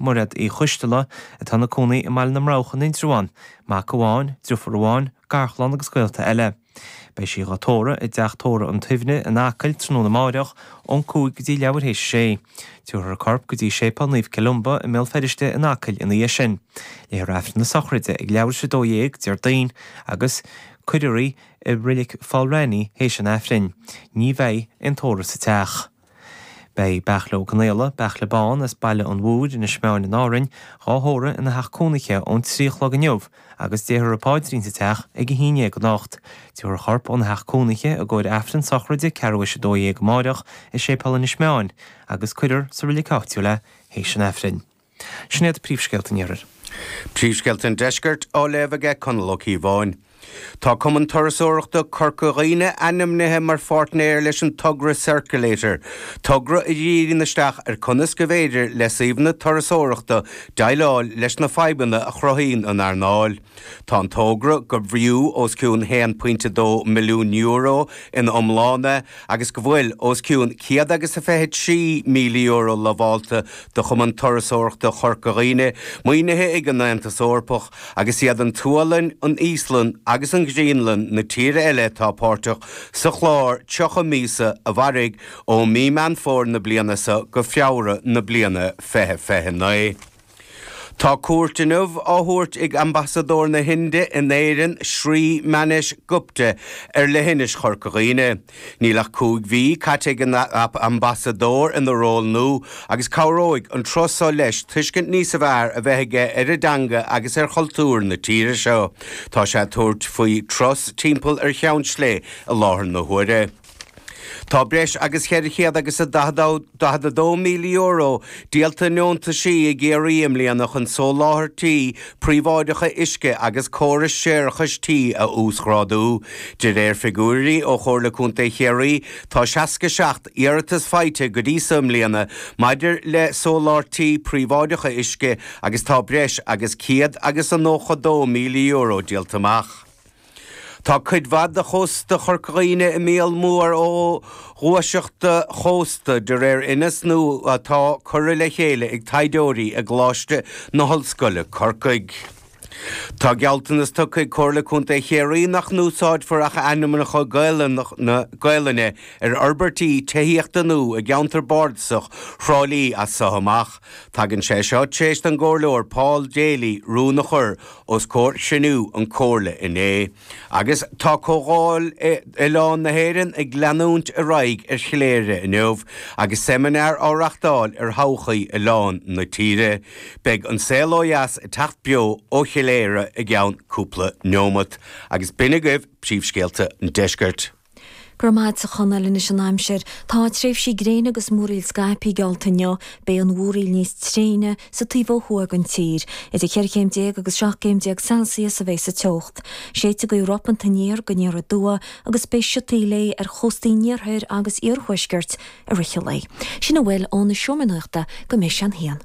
Mairéad Uí Choisteala, atá ina cónaí i mBaile na mBroghach in Indreabhán, mac amháin, driofúr amháin, garchlann agus gaolta eile. Beidh sí dhá tórramh i dTeach Tórraimh an tSuibhne in Acaill tráthnóna amáireach ón 5 go dtí leathuair théis a sé. Tabharfar a corp go dtí Séipéal Naomh Columba i mBéal Feirste in Acaill ina dhiaidh sin. Léifear Aifreann na sochraide ag leathuair théis 12 Déardaoin agus cuirfear í i Reilig Pholl Raithní théis an Aifrinn. Ní bheidh aon tórramh sa teach. Beidh Beairtle Ó Conaola, Beairtle Bán, as Baile an Mhúir, Inis Meáin in Árainn, dhá thórramh ina theach cónaithe ón 3 a chlog inniu agus déarfar an paidrín sa teach ag 11 anocht. Tabharfar a chorp óna theach cónaithe i gcomhair Aifreann sochraide ceathrú théis 12 amáireach i Séipéal Inis Meáin agus cuirfear sa reilig áitiúil é théis an Aifrinn. Sin iad príomhscéalta an Iarthair. Príomhscéalta an Deiscirt á léamh aige Conall Ó Cíobháin. Tá Cumann Turasóireachta Corca Dhuibhne ainmnithe mar pháirtnéir leis an togra Circulator, togra a dhíríonn isteach ar conas go bhféidir le suíomhanna turasóireachta déileáil leis na fadhbanna a chruthaíonn an earnáil. Tá an togra, gurb fhiú os cionn €1.2 milliún ina iomláine, agus go bhfuil os cionn €123,000 lamhálta do Chumann Turasóireachta Chorca Dhuibhne, maoinithe ag an Aontas Eorpach, agus iad an tSualainn, an Íoslainn agus an Ghraonlainn na tíortha eile atá páirteach sa chlár 30 míosa a mhairfidh ó mí Meán Fómhair na bliana seo go Feabhra na bliana 2029. Tá cuairt inniu á thabhairt ag Ambasadóir na hInde in Éirinn, Shri Manish Gupta, ar leithinis Chorca Dhuibhne. Níl ach 5 mhí caite ag an Ambasadóir ina ról nua agus cabhróidh an turas seo leis tuiscint níos fearr a bheith aige ar an dteanga agus ar chultúr na tíre seo. Tá sé ag tabhairt faoi turas timpeall ar Cheann Sléibhe i láthair na huaire. Tá breis agus 400 agus €42,000 díolta i ndeontaisí i gCiarraí i mbliana chun soláthairtí príobháideacha uisce agus córais séarachais tí a uasghrádú. De réir figiúirí ó Chomhairle Contae Chiarraí, tá 67 iarratas faighte go dtí so i mbliana maidir le soláthairtí príobháideacha uisce agus tá breis agus €192,000 díolta amach. Tá cuid mhaith de chósta Chorca Dhuibhne i mbaol mór ó ghuaiseachta chósta, de réir inias nua atá curtha le chéile ag taighdeoirí i gColáiste na hOllscoile, Corcaigh. Tá gealltanas tugtha ag Comhairle Contae Chiarraí nach n-úsáidfear ach ainmneacha Gaelainne ar fhorbairtí tithíochta nua i gceantar bardasach Thrá Lí as seo amach. Tagann sé seo tar éis don gComhairleoir Paul Daly rún a chur os comhair chruinniú an Comhairle inné. Agus tá Comhdháil Oileán na hÉireann ag leanúint ar aghaidh ar Chléire inniu agus seimineár á reachtáil ar thodhchaí oileáin na tíre. Beidh An Saol Ó Dheas ag teacht beo ó Chléire i gceann cúpla neomat. Agus b'in agaibh príomhscéalta an deiscirt. Go raibh maith agat a Chonaill. Anois an aimsir. Tá tréimhsí gréine agus múraíl scaipthe geallta inniu. Beidh an mhúraíl níos tréine sa taobh ó thuaidh den tír. Idir cheithre chéim déag agus 17 gcéim Celsius a bheidh sa teocht. Séidfidh gaoth ropanta aniar go aniar aduaidh agus beidh siotaí léi ar chóstaí an iarthair agus iarthuaiscirt i rith an lae. Sin a bhfuil ón Seomra Nuachta go mbeidh sé an haon.